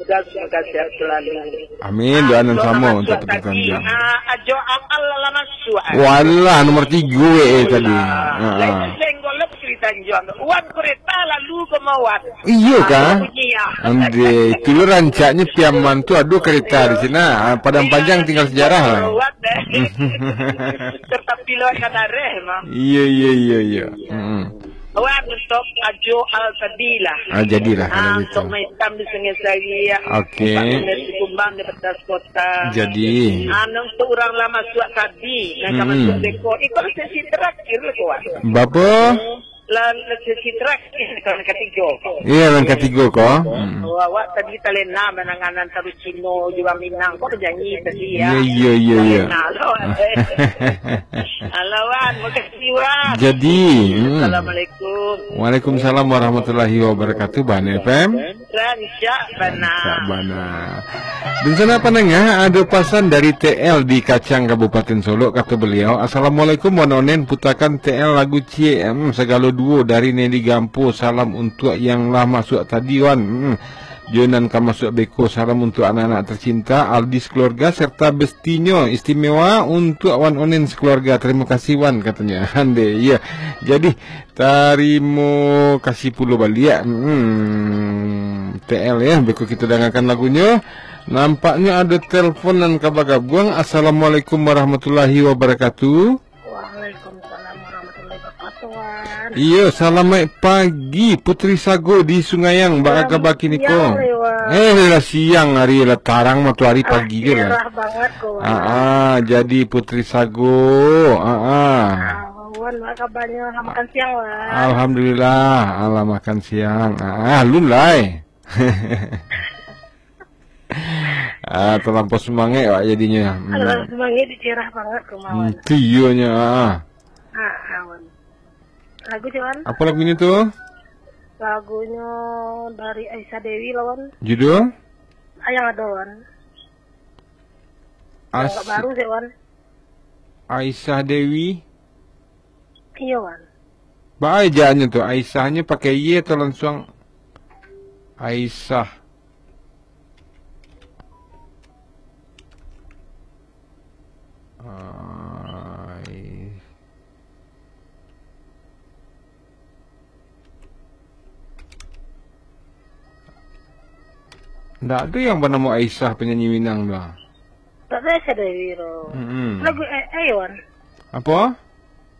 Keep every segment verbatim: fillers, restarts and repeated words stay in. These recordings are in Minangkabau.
Semoga sehat selalu. Amin. Doa nan sama untuk Putu Tanjuang. Ah, Ajo Aal lah masuk, ah. Walah, nomor tiga, eh, tadi. Walah. Ha, ha. Lain senggol lah Putu Tanjuang. Wan, kereta lalu ke Mawat. Iyo, ah, kah? Bunyi, ah. Ande, itulah rancaknya Piaman tu, aduh, kereta di sini. Ah, Padang Panjang tinggal sejarah lah. Mawat, eh. Tetapi lewat Kadareh, mah. Iya, iya, iya, iya. Mm-mm. Wan, untuk Ajo Al tadi lah. Ah, jadilah kalau gitu. Untuk maitam di Sungai Sari, ya. Oke. Pak Gubernur Sikumbang di Petas Kota. Jadi. Ah, untuk urang lah masuk tadi, nan ka masuk beko. Iko lah sesi terakhir lah, kawan. Bapa? Lah, lah sesi terakhir, kawan, katiga. Iya, yang katiga, ko. Hmm. Oh, awak tadi talena mananganan taruh Cino, jua Minang. Kok janji tadi, ya? Iya, iya, iya, iya. Talena lo. Halo, Wan. Makasih, Wan. Jadi, hmm. Assalamualaikum. Waalaikumsalam warahmatullahi wabarakatuh, Bana F M. Rancak bana. Rancak bana. Di sana pandanga, ada pasan dari T L di Kacang, Kabupaten Solok, kata beliau, "Assalamualaikum, Wan Onen, putakan T L lagu ciek, hmm, sagalo duo dari Nelly Gampo, salam untuk yang lah masuk tadi, Wan." Hmm. Jo nan ka masuk beko, salam untuk anak-anak tercinta, Aldi sekeluarga, serta bestinyo istimewa untuk Wan Onen sekeluarga. Terima kasih, Wan, katanya. Ande, iya. Jadi, tarimo kasih pulo baliak. Hmm, T L ya, beko kita dangakan lagunyo. Nampaknyo ado telpon nan ka bagabuang. Assalamualaikum warahmatullahi wabarakatuh. Waalaikumsalam warahmatullahi wabarakatuh, Wan. Iyo, salamaik pagi, Putri Sago di Sungayang. Baa kaba kini ko? Siang, Wan. Eh, lah siang hari, lah tarang matoari pagi je lah. Cerah banget ko, Wan. Ah, ah, jadi Putri Sago. Ah, ah. Ah, Wan, baa kabanyo? Lah makan siang, Wan. Alhamdulillah, alah makan siang. Ah, ah, alun lai. Ah, talampau sumangek awak jadinyo. Hmm. Talampau sumangek, dicerah banget ko, Wan. Hmm, tu iyonyo, ah. Ah, ah, Wan. Lagu, cik, Wan? Apo lagunyo tu? Lagunyo dari Aisyah Dewi lah, Wan. Judul? Ah, yang ado, Wan. Yang agak baru, cik, Wan. Aisyah Dewi. Iyo, Wan. Baa ejaannyo tu, Aisyahnyo pakai Y atau lansuang Aisyah? Ai-, ndak ado yang banamo Aisyah, penyanyi Minang tu, ah. Tak ada Aisyah Dewi tu. Mm-mm. Lagu A I, Wan. Apo?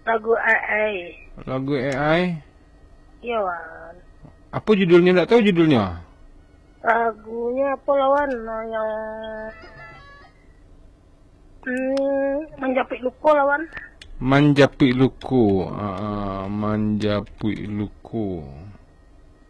Lagu A I. Lagu A I? Iyo, Wan. Apo judulnyo? Ndak tahu judulnyo. Lagunyo apo lah, Wan? Yang, hmm, Manjapuik Luko lah, Wan. Manjapuik Luko. Ah, ah, Manjapuik Luko.